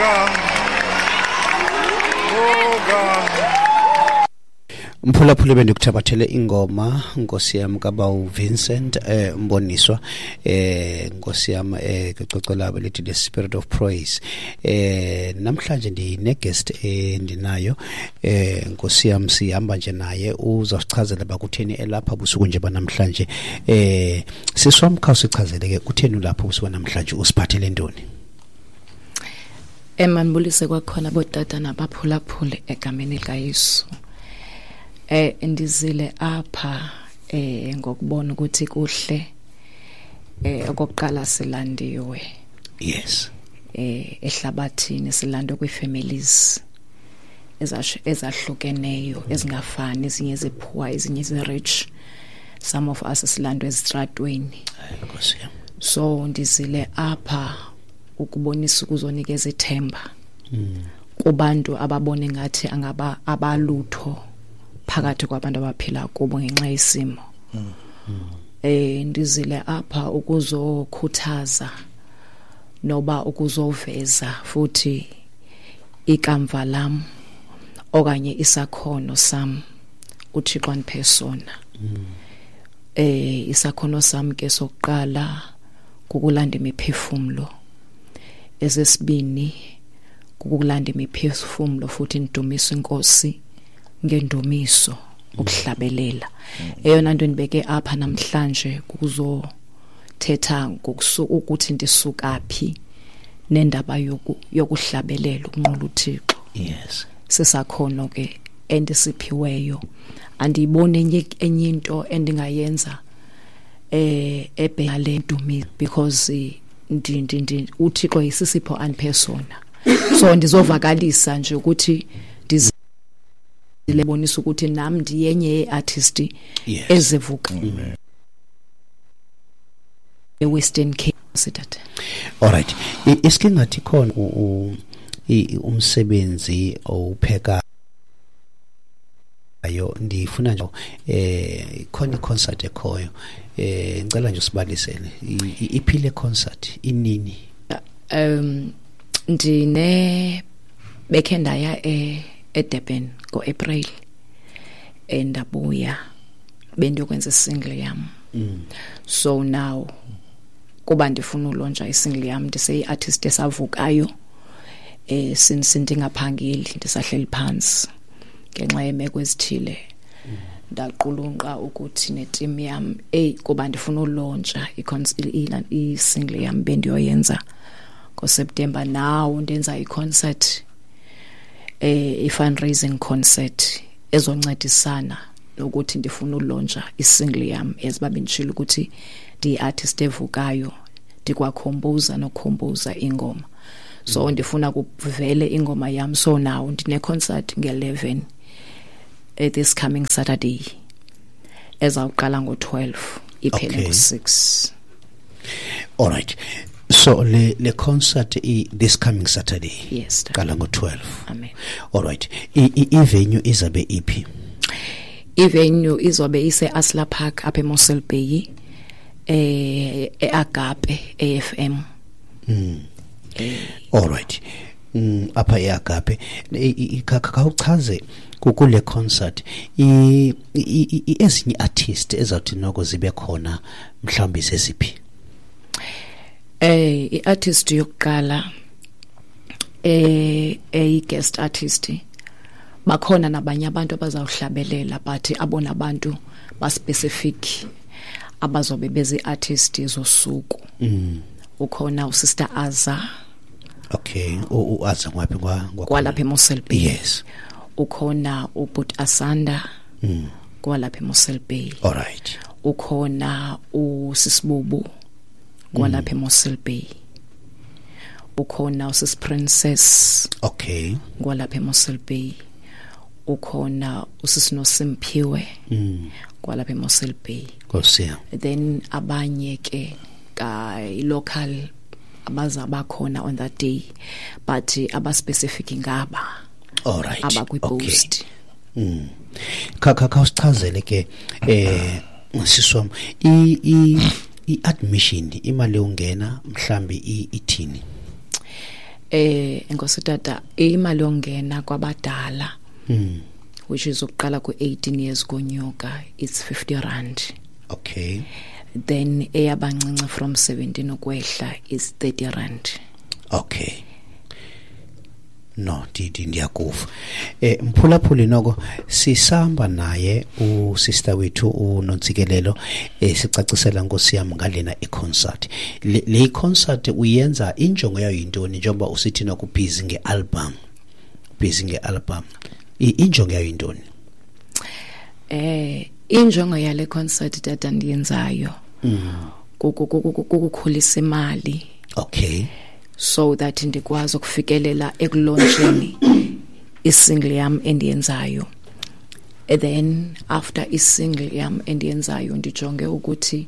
God. Oh God. Mphulaphuli, bendikuthabathele ingoma, nkosi yam, kabawu Vincent Mboniswa, nkosi yam, kwicwecwe labo lithi The Spirit of Praise. Namhlanje ndine-guest endinayo, nkosi yam, sihamba nje naye, uzawusichazela uba kutheni elapha busuku nje banamhlanje. Siswam, khawusichazele ke, kutheni ulapha busuku namhlanje, usiphathele ntoni? Mandibulise kwakhona bootata nabaphulaphuli egameni likaYesu. Ndizile apha ngokubona ukuthi kuhle, okokuqala silandiwe. Ehlabathini silandwe kwii-families ezahlukeneyo, ezingafani, ezinye zi-poor, ezinye zi-rich. Some of us silandwe ezitratweni. Nkosi yam. So ndizile apha ukubonisa, ukuzonikeza ithemba kubantu ababone ngathi angaba abalutho phakathi kwabantu abaphila kubo ngenxa yesimo. Ndizile apha ukuzokhuthaza noba ukuzoveza futhi ikamva lam okanye isakhono sam uThixo andiphe sona. Isakhono sam ke sokuqala kukulanda imiphefumlo. Esesibini kukulanda imiphefumlo futhi ndidumise iNkosi ngendumiso, ukuhlabelela. Eyona nto ndibeke apha namhlanje kuzothetha ukuthi ndisuka phi nendaba yokuhlabelela, ukunqula uThixo. Sisakhono ke endisiphiweyo. Andiyiboni enye into endingayenza ebheka le ndumiso, because uThixo isisipho andiphe sona. So ndizovakalisa nje ukuthi ndizibonisa ukuthi nam ndiyenye ye-artist ezivuka eWestern Cape, sithathe. All right, iske ngathi khona umsebenzi owupheka ayo, ndifuna nje khona i-concert ekhoyo, ngicela nje usibalisele iphile concert, inini? Ndine bekhe ndaya eDurban ngoApril, endabuya bendiyokwenza isingle yam. So now kuba ndifuna ulauncha isingle yam, ndiseyi-artist esavukayo, since ndingaphangeli, ndisahleli phantsi ngenxa yeemeko ezithile, ndaqulunqa ukuthi neteam yam, eyi, kuba ndifuna ulauncha isingle yam bendiyoyenza ngoSeptember, now ndenza i-concert, i-fundraising concert ezoncedisana nokuthi ndifuna ulauncha isingle yam, eziba benditshilo ukuthi ndiyi-artist evukayo, ndikwacomposa nokucomposa ingoma. So ndifuna kuvele ingoma yam. So now ndine-concert nge-11, this coming Saturday, ezawuqala ngo-12 iphele ngo-6. All right, so le concert this coming Saturday? Yes, tata. Qala ngo-12? Amen. All right, i-venue izabe iphi? Ivenue izobe ise-Asla Park apha eMossel Bay, eAgape AFM. All right, apha eAgape. Khawuchaze kule concert ezinye artist ezawuthi noko zibe khona, mhlawumbi zeziphi? I-artist yokuqala, eyi guest artist, bakhona nabanye abantu abazawuhlabelela, but abona bantu ba specific abazobe bezi artist zosuku, ukhona uSister Aza. Okay, uAza ngwaphi kwalapha eMossel Bay. Ukhona uBut Asanda kwalapha eMossel Bay. Ukhona uSisibubu kwalapha eMossel Bay. Ukhona uSis Princess kwalapha eMossel Bay. Ukhona uSisinosimpiwe kwalapha eMossel Bay. Nkosi yam. Then abanye ke ka local abaza bakhona on that day, but aba specific ngaba abakwi-post. Kha kha khawusichazele ke, siswam, i i i-admission, imali yongena mhlambi ithini? Enkosi tata, imali yongena kwabadala, which is ukuqala ku-18 years konyuka, it's 50 rand. Then eyabancinci from 17 ukwehla is 30 rand. Okay, no, ndiyakuva. Mphulaphuli, noko sisamba naye usister wethu uNontsikelelo, sicacisela, nkosi yami, ngalena iconcert. Le concert uyenza injongo yayo yintoni, njengoba usithi noku busy ngealbum, busy ngealbum? Injongo yayo yintoni? Injongo yale concert, tata, ndiyenzayo kukukhulisa imali so that ndikwazi ukufikelela ekulauncheni isingle yam endiyenzayo. And then after isingle yam endiyenzayo, ndijonge ukuthi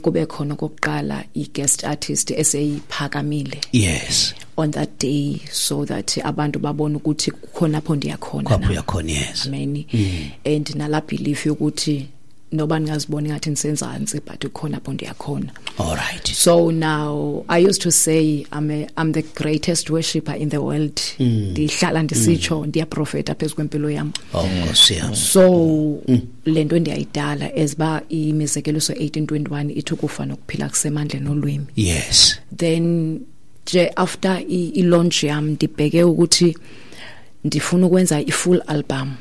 kube khona okokuqala i-guest artist eseyiphakamile on that day, so that abantu babone ukuthi kukhona apho ndiyakhona. Kwapho uyakhona, yes. Amen. And nala belief yokuthi noba ndingaziboni ngathi ndisenzantsi, but kukhona apho ndiyakhona. All right. So now I used to say I'm the greatest worshipper in the world. Ndihlala ndisitsho, ndiyaprofeta phezu kwempilo yam. Oh, nkosi yami. So le nto ndiyayidala as ba imizekeliso 1821 ithi ukufa nokuphila kusemandleni olwimi. Then nje after i-launch yam, ndibheke ukuthi ndifuna ukwenza i-full album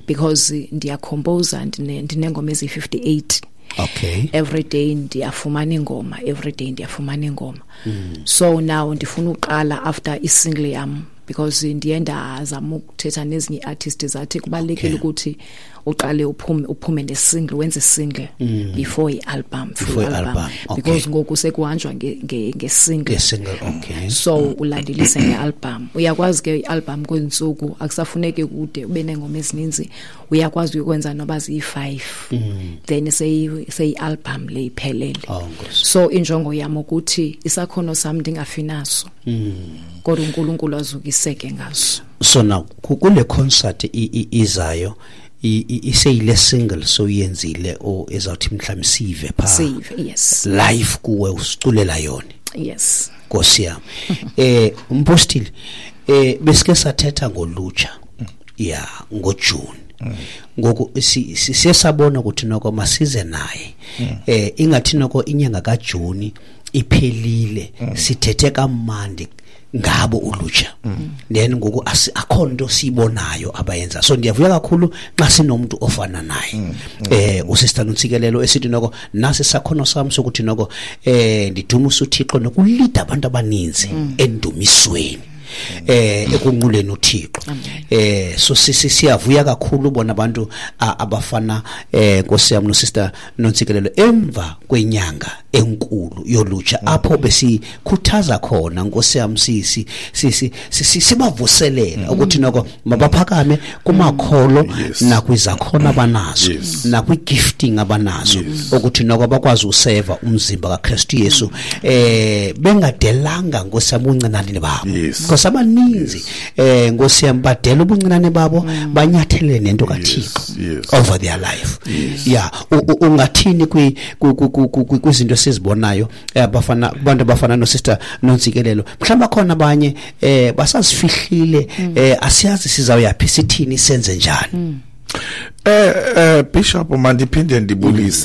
because ndiyacomposa, ndinengoma eziyi-58. Every day ndiyafumana ingoma, every day ndiyafumana ingoma. So now ndifuna uqala after isingle yam, because ndiye ndazama ukuthetha nezinye ii-artist, zathi kubalulekile ukuthi uqale uphume nesingle, wenze single before i-album, full Before album. I-album, okay. Because ngoku sekuhanjwa ngesingle. Ngesingle, okay. So ulandelise nge-album. Uyakwazi ke i-album kwezintsuku akusafuneki kude ube neengoma ezininzi, uyakwazi ukwenza noba ziyi-5, then seyi-album le iphelele. Oh, nkosi. So injongo yam ukuthi isakhono sam ndingafi naso, kodwa uNkulunkulu azukiseke ngaso. So now kule concert izayo, iseyile single soyenzile o ezawuthi mhlawumbe sive pha? Sive, yes. Live kuwe usiculela yona? Yes. Nkosi yami. Umpostile, besike sathetha ngolutsha ya ngoJune. Ngoku siye sabona ukuthi noko masize naye, ingathi noko inyanga kaJuni iphelile, sithethe kamandi ngabo ulutsha, then ngoku akho nto siyibonayo abayenza. So ndiyavuya kakhulu xa sinomuntu ofana naye, usister Nontsikelelo, esithi noko nasi sakhono sami sokuthi noko ndidumisa uThixo nokulida abantu abaninzi endumisweni, ekunquleni uThixo. So siyavuya kakhulu ubona abantu abafana, Nkosi yami, no sister Nontsikelelo emva kwenyanga enkulu yolutsha, apho besikhuthaza khona, Nkosi yami, si sibavuselela ukuthi noko mabaphakame kumakholo nakwizakhono abanazo, nakwi-gifting abanazo, ukuthi noko bakwazi useva umzimba kaKristu Yesu, bengadelanga, Nkosi yami, ubuncinane babo, because abaninzi, Nkosi yami, badela ubuncinane babo, banyathele nento kaThixo over their life. Yeah, ungathini kwizinto esizibonayo, abafana, abantu abafana no sister Nontsikelelo? Mhlawumbe khona abanye basazifihlile, asiyazi sizawuyaphi, sithini, senze njani. Bishop, mandiphinde ndibulise.